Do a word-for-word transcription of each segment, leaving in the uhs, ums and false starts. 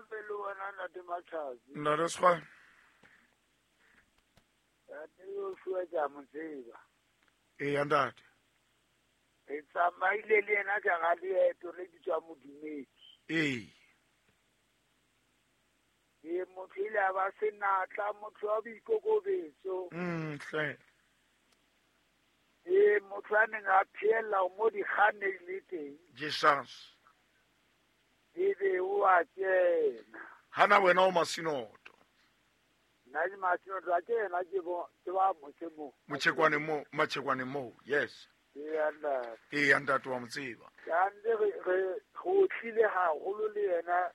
be le wena Ntate Matsatsi. Ntate Sekgwane. Ntate Joshua ke a mo tseba. Eya ntate. Re tsamaile le yena ka ga leeto le bitswang Modumedi. Ee. Ee, motho ile a ba senatla, motho wa boikokobetso. Mm, hle. Ee, motho a neng a phehella mo dikganne di le teng. Jesus. Ebe o a kena. Hana wena o Masinoto. Nna ke Masinoto, a ke yena ke bo, ke ba motse mo. Motshekwane mo, Motshekwane mo, yes. Ee, ntate. Ee, ntate wa mo tseba. Kante re, re go tlile haholo le yena.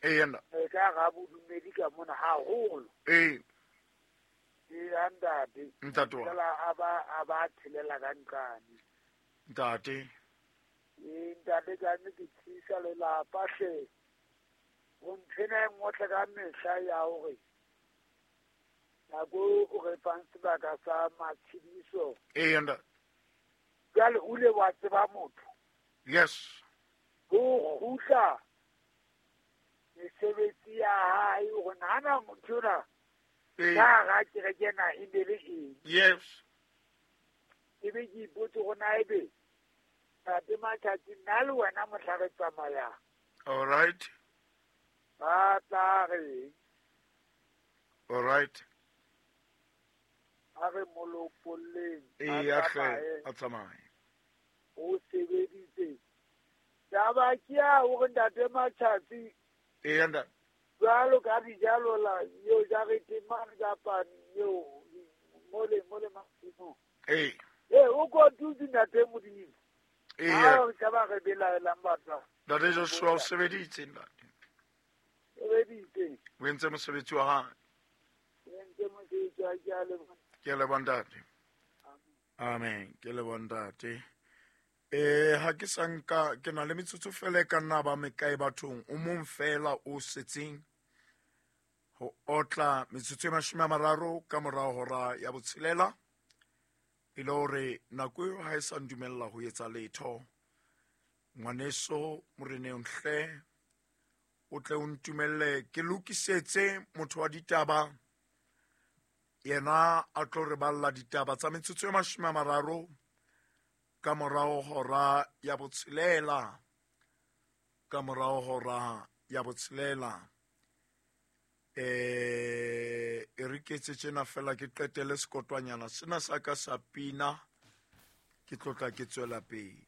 Ee, ntate. E ka ga bodumedi ka mona haholo. Ee. Ee, ntate. Ntate wa. Fela a ba, a ba thelela ka nqane. Ntate. Ee, ntate ka nnete ke tshisa lelapa hle. Ho nthwena e nngwe ka mehla ya hore nako o re fang sebaka sa matshediso. Ee, ntate. Jwale o ile wa tseba motho. Yes. Ho kgutla mesebetsi ya hae hore nahana motho ona Ee. ka hara kereke ena e ne le eng. Yes. Ebe ke ipotse hore na ebe Ntate Matsatsi nna le wena mohla re tsamayang. All right. Ba tla reng? All right. A re molopolleng, a Ee, a hle, tsamaye. a tsamaye. O sebeditse. Taba ke ya hore Ntate Matsatsi Ee, ntate. jwalo ka dijalo la eo jarete mane kapa eo mole, mole masimong. Ee. Ee, o kotutse Ntate Modimo. Ee. Ha re ka ba re belaelang batho. Ntate Joshua o sebeditse, ntate. Sebeditse. O entse mosebetsi wa hae. O entse mosebetsi wa hae, ke a leboha. Ke a leboha ntate. Amen. Ke leboha ntate. Eh, ha ke sa nka, ke na le metsotso fela e ka nna ba mekae bathong, o mong fela o setseng ho otla metsotso e mashome a mararo ka morao hora ya botshelela, e le hore nako eo ha e sa ndumella ho etsa letho. Ngwaneso moreneng hle, o tle o ntumelle ke lokisetse motho wa ditaba, yena a tlo re balla ditaba tsa metsotso e mashome a mararo ka morao hora ya botshelela, ka morao hora ya botshelela. Eh, e re ke etse tjena fela ke qetele sekotwanyana sena sa ka sa pina, ke tlotla ke tswela pele.